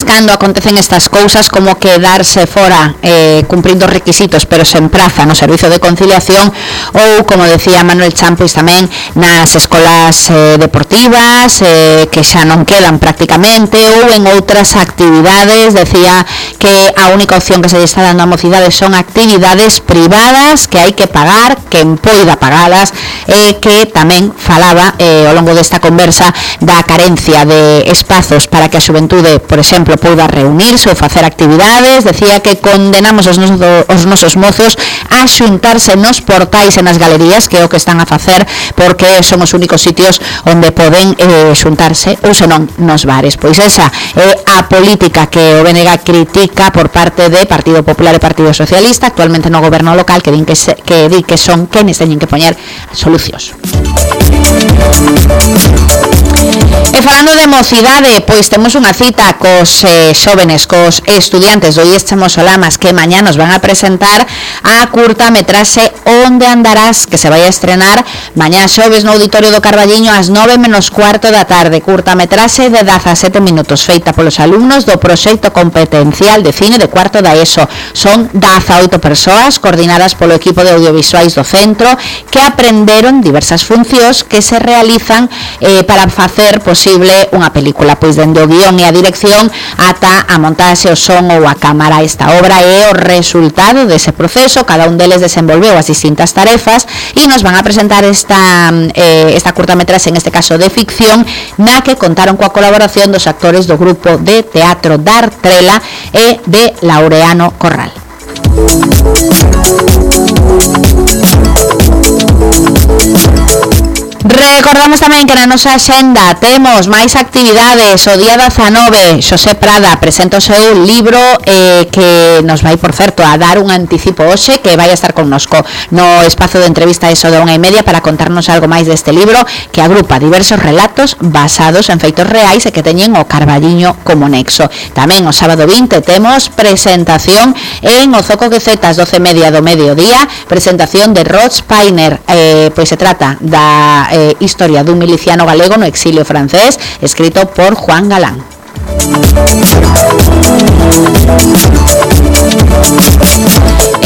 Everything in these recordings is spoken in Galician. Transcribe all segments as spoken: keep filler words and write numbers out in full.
cando acontecen estas cousas como quedarse fora eh, cumprindo requisitos pero sen praza no servizo de conciliación ou, como decía Manuel Chan, pois tamén nas escolas eh, deportivas eh, que xa non quedan prácticamente, ou en outras actividades. Decía que a única opción que se está dando a mocidade son actividades privadas que hai que pagar, que poida pagalas, eh, que tamén falaba eh, ao longo desta conversa da carencia de espazos para que a xuventude, por exemplo, poida reunirse ou facer actividades. Decía que condenamos os nosos, os nosos mozos a xuntarse nos portais e nas galerías, que é o que están a facer, porque son os únicos sitios onde poden eh, xuntarse, ou senón nos bares. Pois esa é a política que o B N G critica por parte de Partido Popular e Partido Socialista actualmente no goberno local, que din que, se, que, di que son quenes teñen que poñer solucións. E falando de mocidade, pois temos unha cita cos eh, xóvenes, cos estudiantes do I E S Chamos Olamas, que mañá nos van a presentar a curta metraxe Onde Andarás, que se vai a estrenar mañá xoves no Auditorio do Carballiño ás nove menos cuarto da tarde. Curta metraxe de dezasete minutos, feita polos alumnos do proxecto competencial de cine de cuarto da ESO. Son dezaoito persoas coordinadas polo equipo de audiovisuais do centro que aprenderon diversas funcións que se realizan eh, para facer posible unha película, pois dende o guión e a dirección ata a montaxe, o son ou a cámara. Esta obra é o resultado dese proceso, cada un deles desenvolveu as distintas tarefas e nos van a presentar esta, eh, esta curtametraxe, en este caso de ficción, na que contaron coa colaboración dos actores do grupo de teatro Dartrela e de Laureano Corral. Recordamos tamén que na nosa axenda temos máis actividades. O día dezanove, Xosé Prada presenta o seu libro eh, que nos vai, por certo, a dar un anticipo hoxe, que vai a estar connosco no espazo de entrevista eso de unha e media para contarnos algo máis deste libro, que agrupa diversos relatos basados en feitos reais e que teñen o Carballiño como nexo. Tamén o sábado vinte temos presentación en o Zoco Quecetas, doce e media do mediodía, presentación de Rod Spiner, eh, pois se trata da eh, historia dun miliciano galego no exilio francés, escrito por Juan Galán.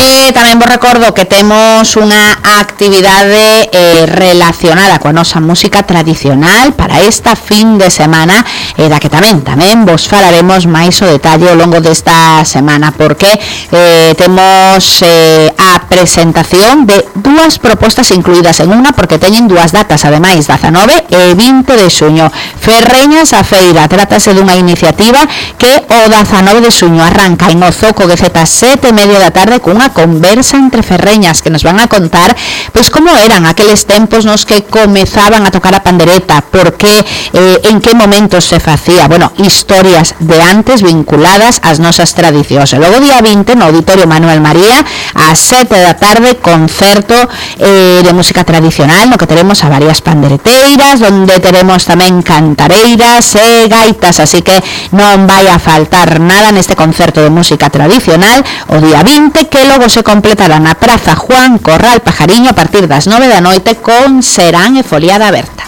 E tamén vos recordo que temos unha actividade eh, relacionada coa nosa música tradicional para esta fin de semana, e da que tamén tamén vos falaremos máis o detalle ao longo desta semana, porque eh, temos eh, a presentación de dúas propostas incluídas en unha, porque teñen dúas datas, ademais, dezanove e vinte de xuño. Ferreñas a Feira, trátase dunha iniciativa que o dezanove de xuño arranca en o Zoco Quecetas sete e media da tarde cunha conversa entre ferreñas que nos van a contar pois como eran aqueles tempos nos que comezaban a tocar a pandereta, por que, eh, en que momentos se facía, bueno, historias de antes vinculadas ás nosas tradicións. E logo día vinte no Auditorio Manuel María ás sete da tarde, concerto eh, de música tradicional no que teremos a varias pandereteiras, onde teremos tamén cantareiras e gaitas, así que non vai a faltar nada neste concerto de música tradicional o día vinte, que logo se completará na Praza Juan Corral Pajariño a partir das nove da noite con serán e foliada aberta.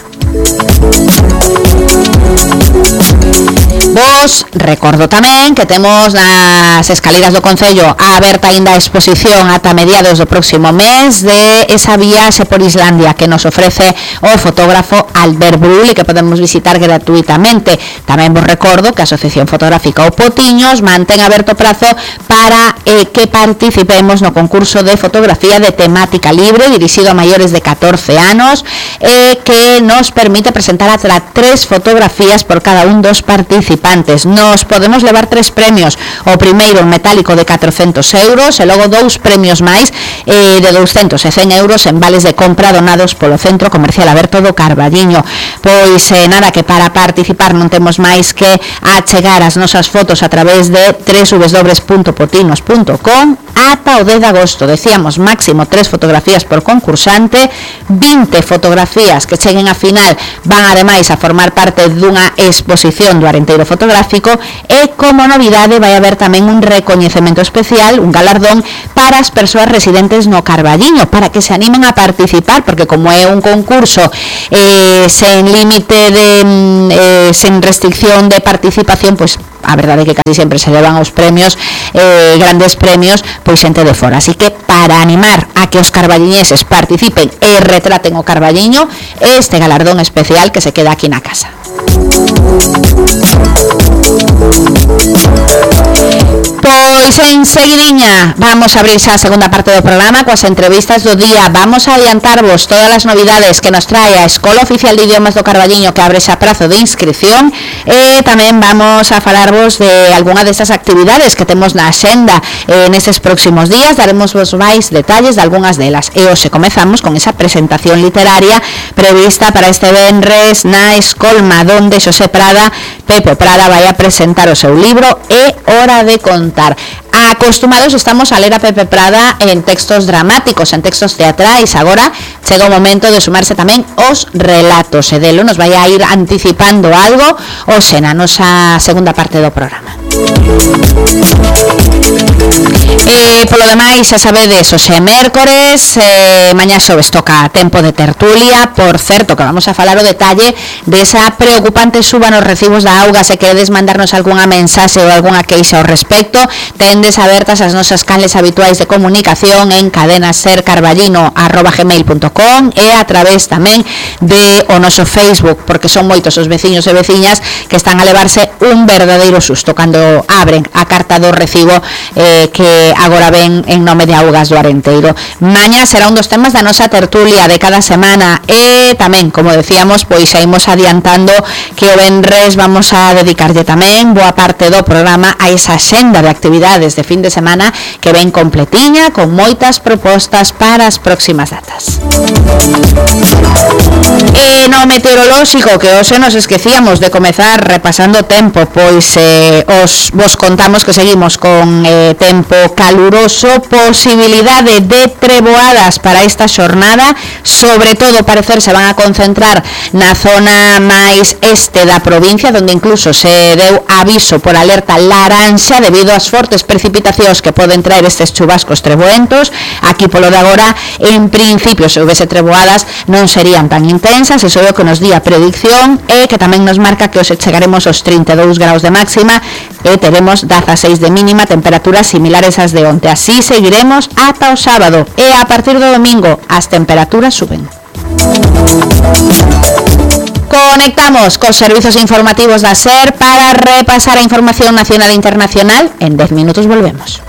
Vos recordo tamén que temos nas escaleras do Concello a aberta aínda a exposición ata mediados do próximo mes de esa viaxe por Islandia que nos ofrece o fotógrafo Albert Brull e que podemos visitar gratuitamente. Tamén vos recordo que a Asociación Fotográfica O Potiños mantén aberto prazo para eh, que participemos no concurso de fotografía de temática libre dirixido a maiores de catorce anos e eh, que nos permite presentar ata tres fotografías por cada un dos participantes. Nos podemos levar tres premios, o primeiro en metálico de catrocentos euros e logo dous premios máis eh, de douscentos e cen euros en vales de compra donados polo Centro Comercial Aberto do Carballiño. Pois eh, nada, que para participar non temos máis que achegar as nosas fotos a través de doble u doble u doble u punto potinos punto com ata o dez de agosto. Decíamos máximo tres fotografías por concursante, vinte fotografías que cheguen a final van ademais a formar parte dunha exposición do Arenteiro Fotográfico e como novidade vai haber tamén un recoñecemento especial, un galardón para as persoas residentes no Carballiño, para que se animen a participar, porque como é un concurso eh, sen límite de eh, sin restricción de participación, pois a verdade é que casi sempre se levan os premios, eh, grandes premios, pois xente de fora. Así que para animar a que os carballiñeses participen e retraten o Carballiño, este galardón especial que se queda aquí na casa. Pois en seguidiña vamos a abrir xa a segunda parte do programa coas entrevistas do día. Vamos a adiantarvos todas as novidades que nos trae a Escola Oficial de Idiomas do Carballiño, que abre xa prazo de inscripción, e tamén vamos a falarvos de algunha destas actividades que temos na axenda eh, nestes próximos días. Daremos vos máis detalles de algunhas delas. E hoxe comezamos con esa presentación literaria prevista para este venres na Escolma, donde Xosé Prada, Pepe Prada, vai a presentar o seu libro É hora de contar. Acostumados estamos a ler a Pepe Prada en textos dramáticos, en textos teatrais. Agora chega o momento de sumarse tamén os relatos, e delo nos vai a ir anticipando algo hoxe na nosa segunda parte do programa. E polo demais, xa sabedes, hoxe é mércores, eh, mañá xoves toca tempo de tertulia. Por certo, que vamos a falar o detalle desa preocupante suba nos recibos da auga. Se queredes mandarnos algunha mensaxe ou algunha queixa ao respecto, tendes abertas as nosas canles habituais de comunicación en cadenasercarballino arroba gmail punto com e a través tamén de o noso Facebook, porque son moitos os veciños e veciñas que están a levarse un verdadeiro susto cando abren a carta do recibo eh, que agora ven en nome de Augas do Arenteiro. Mañá será un dos temas da nosa tertulia de cada semana, e tamén, como decíamos, pois xa imos adiantando que o venres vamos a dedicarlle tamén boa parte do programa a esa xenda de actividades de fin de semana que ven completiña, con moitas propostas para as próximas datas. E no meteorolóxico, que hoxe nos esquecíamos de comezar repasando o tempo, pois eh, os vos contamos que seguimos con eh, tempo caluroso, posibilidade de treboadas para esta xornada, sobre todo parecer se van a concentrar na zona máis este da provincia, donde incluso se deu aviso por alerta laranxa debido ás fortes precipitacións que poden traer estes chubascos treboentos. Aquí polo de agora, en principio, se houvese treboadas non serían tan intensas, eso é o que nos di a predicción, e que tamén nos marca que hoxe chegaremos aos trinta e dous graus de máxima e teremos dezaseis de mínima, temperaturas similares ás de onte. Así seguiremos ata o sábado, e a partir do domingo as temperaturas suben. Conectamos cos servizos informativos da SER para repasar a información nacional e internacional. En dez minutos volvemos.